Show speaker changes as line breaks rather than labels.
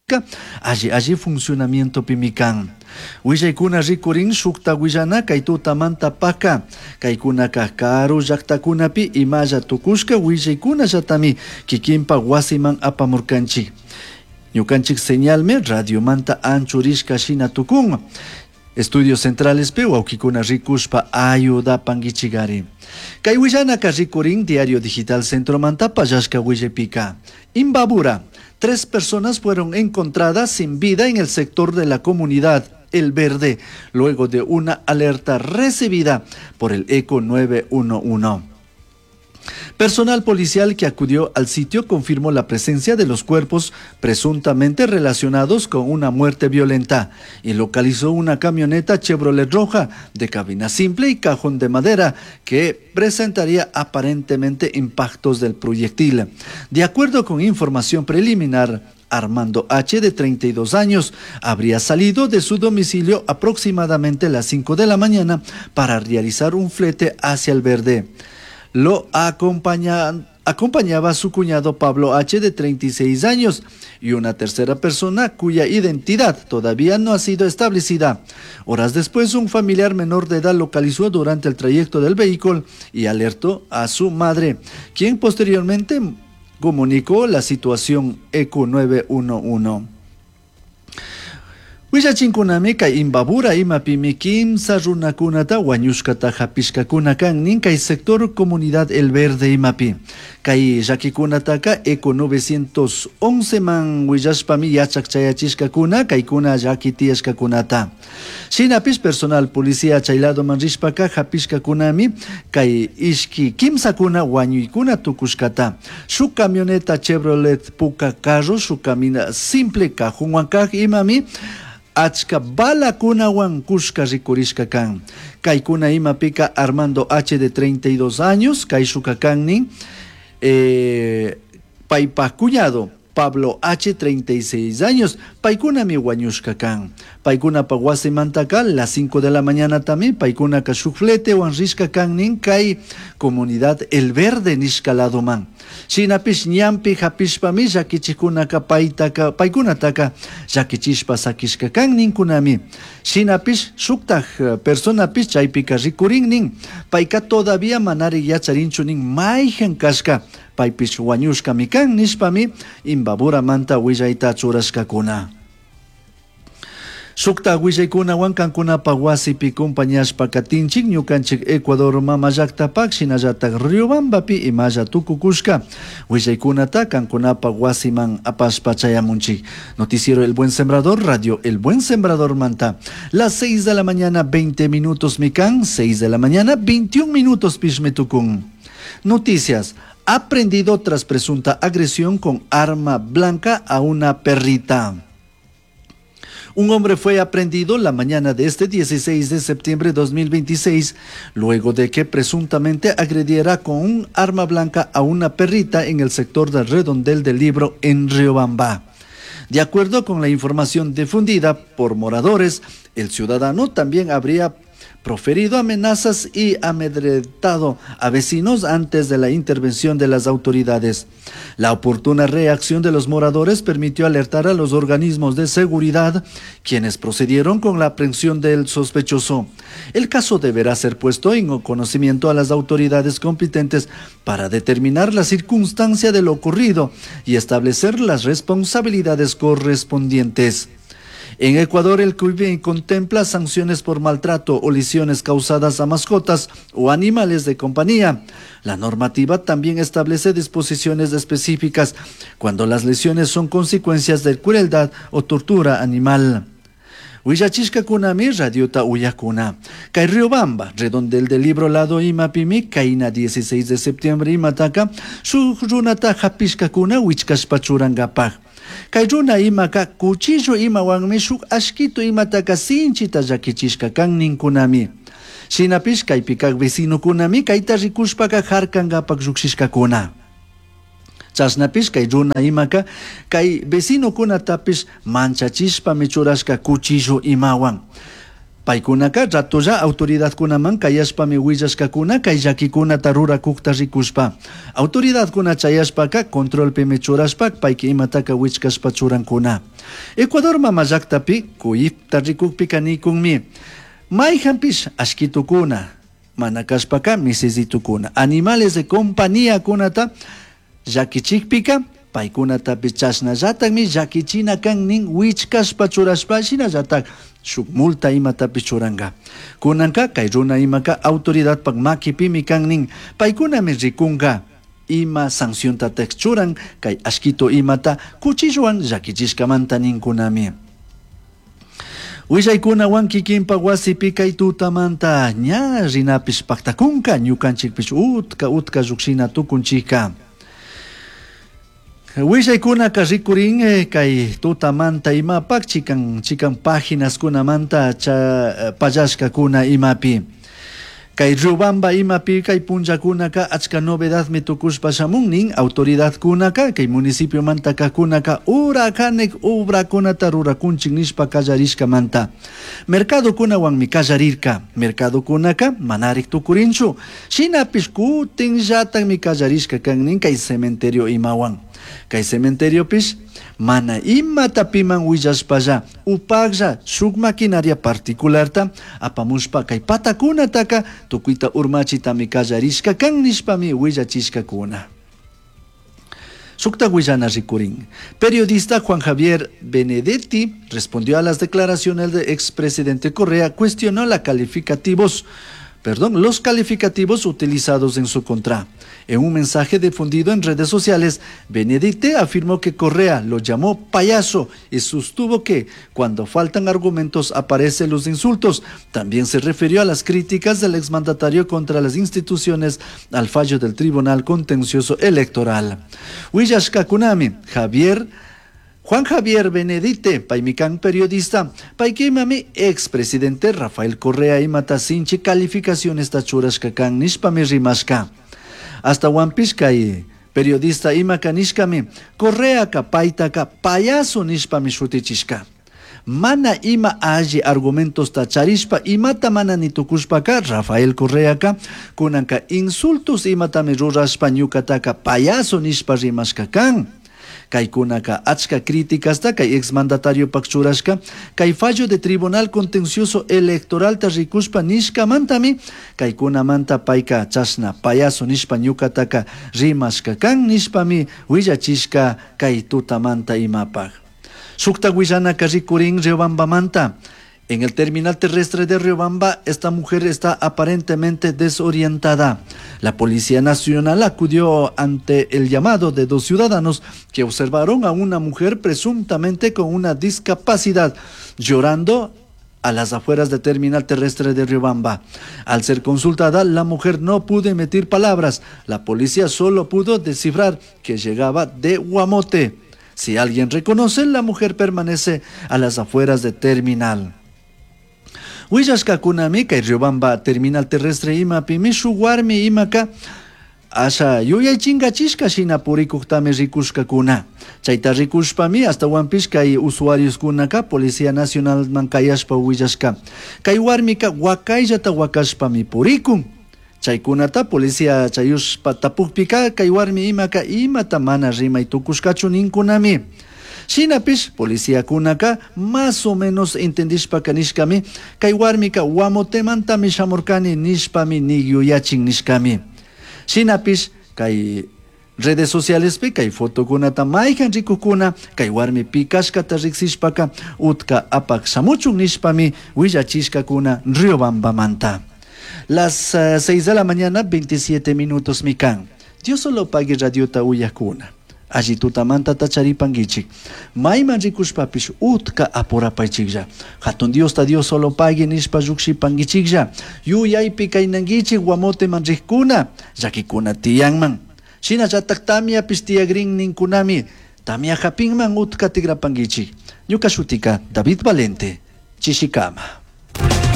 Alli alli funcionamientopimi kan. Huillaicuna ricurin shujta huillana cai tutamanta paca. Caicunaca caru llajtacunapi imalla tucushca huillaicunallatami quiquinpaj huasiman apamurcanchij. Ñucanchij señalmi radiomanta anchurishca shina tucun. Estudios Centralespi huauquicuna ricushpa ayudapanguichigari. Cai huillanaca ricurin Diario Digital Centromanta pallashca huillaipica. Imbabura. Tres personas fueron encontradas sin vida en el sector de la comunidad El Verde, luego de una alerta recibida por el ECO 911. Personal policial que acudió al sitio confirmó la presencia de los cuerpos presuntamente relacionados con una muerte violenta y localizó una camioneta Chevrolet roja de cabina simple y cajón de madera que presentaría aparentemente impactos del proyectil. De acuerdo con información preliminar, Armando H., de 32 años, habría salido de su domicilio aproximadamente a las 5 de la mañana para realizar un flete hacia el Verde. Lo acompañaba su cuñado Pablo H., de 36 años, y una tercera persona cuya identidad todavía no ha sido establecida. Horas después, un familiar menor de edad localizó durante el trayecto del vehículo y alertó a su madre, quien posteriormente comunicó la situación ECO 911. Huillachincunami kay Imbabura imapimi kimsa runakunata huañushkata hapishkakuna kan nin kay sector comunidad El Verde imapi. Kay llaquikunataka ECO 911 man huillashpami yachak chayachishkakuna kaykuna llaki tiyashkakunata. Shinapish personal policía chay ladoman rishpaka hapishkakunami kay ishki kimsakuna huañuykuna tukushkata. Shuk camioneta Chevrolet puka carro, shuk camina simple cajonwan kaj imami achka balakunawan kushka rikurishka kan. Kaykuna imapika Armando H. de 32 años, kayshuka kan nin, paypaj cuñado Pablo H. 36 años, paykunami wañushka kan. Paykunapa wasimantaka las 5 de la mañana también paykunaka shuk fletewan rishka kan nin kay comunidad El Verde nishka ladoman. Shinapish ñanpi hapishpami llakichikunaka paytaka, paykunataka llakichishpa sakishka kan ninkunami. Shinapish shuktaj personapish chaypika rikurin nin, payka todavía manari yacharinchu nin mayjan kashka, paypish wañushkami kan nishpami Imbaburamanta willayta churashkakuna. Shukta willaykunawan kankunapa wasipi compañashpa katinchik ñukanchik Ecuador mama llaktapak shinallatak Riobambapi imalla tukukushka willaykunata kankunapa wasiman apashpa chayamunchik. Noticiero El Buen Sembrador, Radio El Buen Sembrador manta. Las 6 de la mañana 20 minutos mikan, 6 de la mañana 21 minutos pishmetukun. Noticias. Aprendido tras presunta agresión con arma blanca a una perrita. Un hombre fue aprehendido la mañana de este 16 de septiembre de 2026, luego de que presuntamente agrediera con un arma blanca a una perrita en el sector del Redondel del Libro en Riobamba. De acuerdo con la información difundida por moradores, el ciudadano también habría proferido amenazas y amedrentado a vecinos antes de la intervención de las autoridades. La oportuna reacción de los moradores permitió alertar a los organismos de seguridad, quienes procedieron con la aprehensión del sospechoso. El caso deberá ser puesto en conocimiento a las autoridades competentes para determinar la circunstancia de lo ocurrido y establecer las responsabilidades correspondientes. En Ecuador, el CUIB contempla sanciones por maltrato o lesiones causadas a mascotas o animales de compañía. La normativa también establece disposiciones específicas cuando las lesiones son consecuencias de crueldad o tortura animal. Huillachishkakunami radiota uyakuna. Kay Riobamba, redondel del libro lado imapimi, kayna 16 de septiembre imataka, shuk runata hapishkakuna wichkashpa churankapak. Kay runa imaka cuchillo imawanmi shuk ashkitu imataka sinchita llakichishka kan ninkunami. Shinapish kaypikak vecinokunami kayta rikushpaka harkankapak llukshishkakuna. Chashnapish kay runa imaka kay vecinokunatapish manchachishpami churashka cuchillo imawan. Paykunaka ratolla autoridadkunaman kayashpami willashkakuna kay llakikunata rurakukta rikushpa. Autoridadkuna chayashpaka controlpimi churashpa payka imataka wichkashpa churankuna. Ecuador mama llaktapi CUIFta rikukpika nikunmi mayhanpish ashkitukuna mana kashpaka misisitukuna animales de compañiakunata llakichikpika paykunatapish chashnallatakmi llakichina kan nin wichkashpa churashpa shinallatak shuk multa imatapish churanka. Kunanka kay runa imaka autoridadpak makipimi kan nin paykunami rikunka ima sanciontatak churan kay ashkito imata cuchillowan llakichishkamanta ninkunami. Willaykunawan kikinpak wasipi kay tutamanta ña rinapish paktakunka ñukanchikpish utka utka llukshina tukunchikka. Willaykunaka rikurin kay tutamanta imapak chikan chikan paginaskunamanta cha pallashkakuna imapi. Kay Riobamba imapi kay punllakunaka achka novedadmi tukushpa shamun nin autoridadkunaka kay municipiomanta kajkunaka urakanek obrakunata rurakunchik nishpa kallarishkamanta. Mercadokunawanmi kallarirka. Mercadokunaka manarik tukurinchu. Shinapish kutinllatakmi kallarishka kan nin kay cementerio imawan. Kay cementeriopish mana imata piman willashpalla upaklla shuk maquinaria particularta apamushpa kay patakunataka tukuyta urmachitami kallarishka kan nishpami willachishkakuna. Shukta willana rikurin. Periodista Juan Javier Benedetti respondió a las declaraciones del expresidente Correa, cuestionó la calificativos, perdón, los calificativos utilizados en su contra. En un mensaje difundido en redes sociales, Benedetti afirmó que Correa lo llamó payaso y sostuvo que cuando faltan argumentos aparecen los insultos. También se refirió a las críticas del exmandatario contra las instituciones al fallo del Tribunal Contencioso Electoral. Willashkakunami, Juan Javier Benedetti, paymi kan periodista, paykimami expresidente Rafael Correa imata sinchi calificacionesta churashka kan nishpami rimashka. Ashtahuanpish kay periodista imaka nishkami Correaka paytaka payaso nishpami shutichishka. Mana ima alli argumentosta charishpa imata mana nitukushpaka Rafael Correaka kunanka insultos imatami rurashpa ñukataka payaso nishpa rimashka kan. Kaykunaka achka críticasta kay exmandatariopak churashka kay fallo de Tribunal Contencioso Electoralta rikushpa nishkamantami kaykunamanta payka chashna payaso nishpa ñukataka rimashka kan nishpami willachishka kay tutamanta imapak. Shukta willanaka rikurin Riobambamanta. En el terminal terrestre de Riobamba, esta mujer está aparentemente desorientada. La Policía Nacional acudió ante el llamado de dos ciudadanos que observaron a una mujer presuntamente con una discapacidad llorando a las afueras del terminal terrestre de Riobamba. Al ser consultada, la mujer no pudo emitir palabras. La policía solo pudo descifrar que llegaba de Guamote. Si alguien reconoce, la mujer permanece a las afueras del terminal. Willashkakunami kay Riobamba terminal terrestre imapimi shuk warmi imaka asha yuyay chingachishka shina purikuktami rikushkakuna. Chayta rikushpami ashtawanpish kay usuarioskunaka Policía Nacionalman kayashpa willashka. Kay warmika wakayllata wakashpami purikun. Chaykunata policía chayushpa tapukpika kay warmi imaka imata mana rimay tukushkachu ninkunami. Shinapish policiakunaka más o menos entendishpaka nishkami kay warmika Guamotemantami shamurkani nishpami niyuyachin nishkami. Shinapish kay redes socialespi kay fotokunata mayhan rikukuna kay warmi pikashkata riksishpaka utka apak shamuchun nishpami willachishkakuna Riobambamanta. Las 6 de la mañana, 27 minutos mikan. Dios solo pague radiota uyakuna. Alli tutamanta tacharipanguichik. Mayman rikushpapish utka apurapaychiklla. Hatun Diosta Dios solo pague nishpa llukshipanguichiklla. Yuyaypi kaynanguichik Guamoteman rikkuna. Llakikuna tiyanman. Shinallatak tamiapish tiyagrin ninkunami. Tamia hapinman utka tigrapanguichik. Ñuka shutika David Valente. Chishikama.